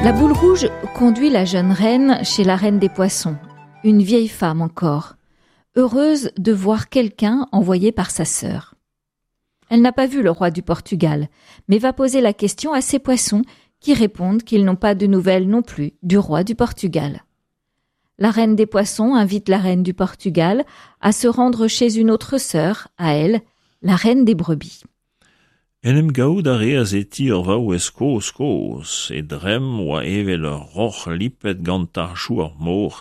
La boule rouge conduit la jeune reine chez la reine des poissons, une vieille femme encore, heureuse de voir quelqu'un envoyé par sa sœur. Elle n'a pas vu le roi du Portugal, mais va poser la question à ses poissons qui répondent qu'ils n'ont pas de nouvelles non plus du roi du Portugal. La reine des poissons invite la reine du Portugal à se rendre chez une autre sœur, à elle, la reine des brebis. En em gavout a reas e ti ur vaouez kozh-kozh, he dremm oa evel ur roc'h lipet gant tarchoù ar mor,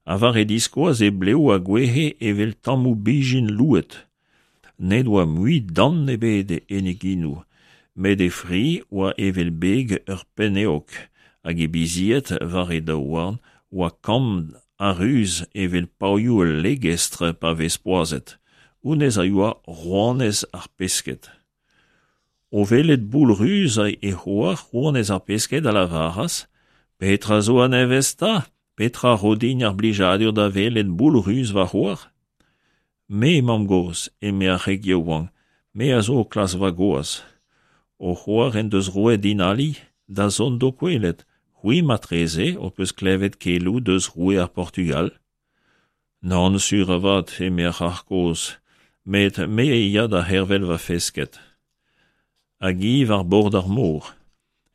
ha war he diskoaz he blev a gouezhe evel tammoù bezhin louet. N'he doa mui dant ebet en he genoù, met he fri oa evel beg ur penn-eog, hag he bizied war he daouarn oa kamm ha ruz evel pavioù ul legestr pa vez poazhet. Honnezh a oa rouanez ar pesked. O welet Boull Ruz he c'hoar, rouanez ar pesked, a lavaras: Petra zo a-nevez 'ta? Petra 'ro din ar blijadur da welet Boull Ruz va c'hoar? Me, mamm-gozh, eme ar c'hreg yaouank, me a zo o klask va gwaz. Ho c'hoar en deus roet din ali da zont d'ho kwelet. C'hwi marteze ho peus klevet keloù deus roue ar Portugal? Nann sur avat, eme ar c'hrac'h kozh, met me a ya da c'hervel va fesked. Hag hi war bord ar mor.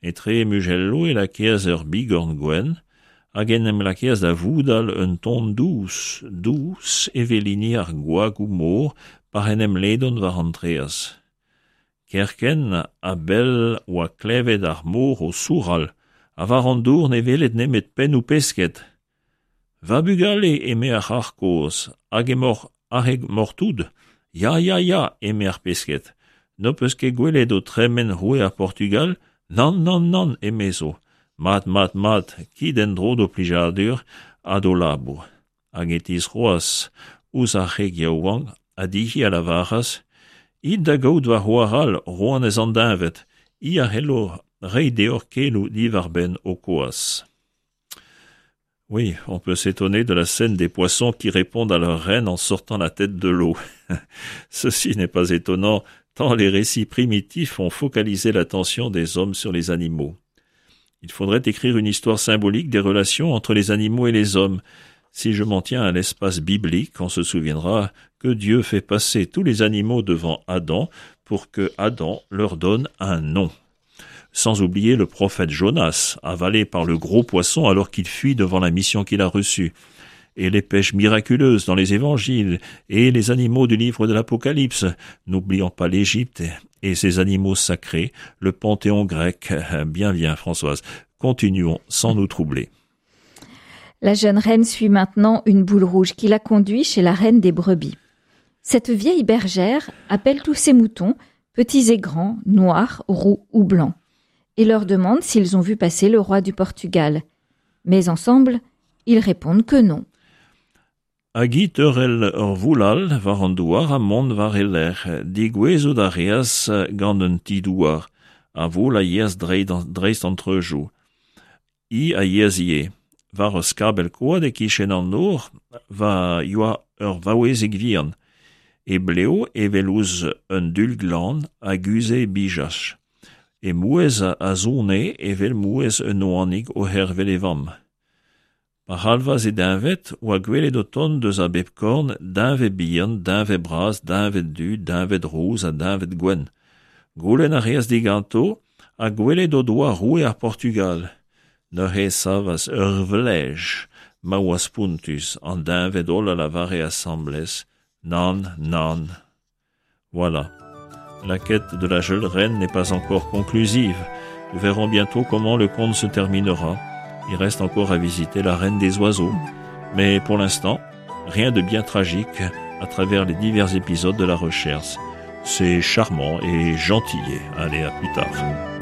Etre he muzelloù e lakaas ur bigorn gwenn hag en em lakaas da voudal un ton dous, dous evel hini ar gwagoù-mor pa'c'h en em ledont war an traezh. Kerkent a-bell oa klevet ar mor o sourral ha war an dour ne weled nemet pennoù pesked. Va bugale, eme ar c'hrac'h kozh, hag emaoc'h aze emaoc'h tout? Ya, ya, ya, eme ar pesked. N'ho peus ket gwelet o tremen roue ar Portugal? Nann, nann, nann, emezo. Mat, mat, mat, kit en-dro d'ho plijadur ha d'ho labour. Hag e tistroas ouzh ar c'hreg yaouank ha dezhi a lavaras: It da gaout va c'hoar all, rouanez an deñved, hi a c'hello reiñ deoc'h keloù diwar-benn ho kwaz. Oui, on peut s'étonner de la scène des poissons qui répondent à leur reine en sortant la tête de l'eau. Ceci n'est pas étonnant, tant les récits primitifs ont focalisé l'attention des hommes sur les animaux. Il faudrait écrire une histoire symbolique des relations entre les animaux et les hommes. Si je m'en tiens à l'espace biblique, on se souviendra que Dieu fait passer tous les animaux devant Adam pour que Adam leur donne un nom. Sans oublier le prophète Jonas, avalé par le gros poisson alors qu'il fuit devant la mission qu'il a reçue, et les pêches miraculeuses dans les évangiles, et les animaux du livre de l'Apocalypse, n'oublions pas l'Égypte et ses animaux sacrés, le panthéon grec. Bien, bien, Françoise, continuons sans nous troubler. La jeune reine suit maintenant une boule rouge qui la conduit chez la reine des brebis. Cette vieille bergère appelle tous ses moutons, petits et grands, noirs, roux ou blancs, et leur demande s'ils ont vu passer le roi du Portugal. Mais ensemble, ils répondent que non. Hag hi teurel ur voul all war an douar ha mont war he lerc'h. Degouezhout a reas gant un ti-douar. Ar voul a yeas dreist an treujoù. Hi a yeas ivez. War ur skabell koad e-kichen an nor va yoa ur vaouezig vihan. He blev, evel ouzh un dul glan, a guzhe he bijach. He mouezh a sone evel mouezh un oanig o c'hervel e vamm. Pa c'halvas e deñved oa gwelet o tont eus a bep korn deñved bihan, deñved bras, deñved du, deñved rous ha deñved gwenn. Goulenn a reas diganto ha gwelet o doa roue ar Portugal. Neuze e savas ur vlej ma oa spontus, an deñved holl a lavare asambles nann, nann. Voilà. La quête de la jeune reine n'est pas encore conclusive. Nous verrons bientôt comment le conte se terminera. Il reste encore à visiter la reine des oiseaux. Mais pour l'instant, rien de bien tragique à travers les divers épisodes de la recherche. C'est charmant et gentil. Allez, à plus tard.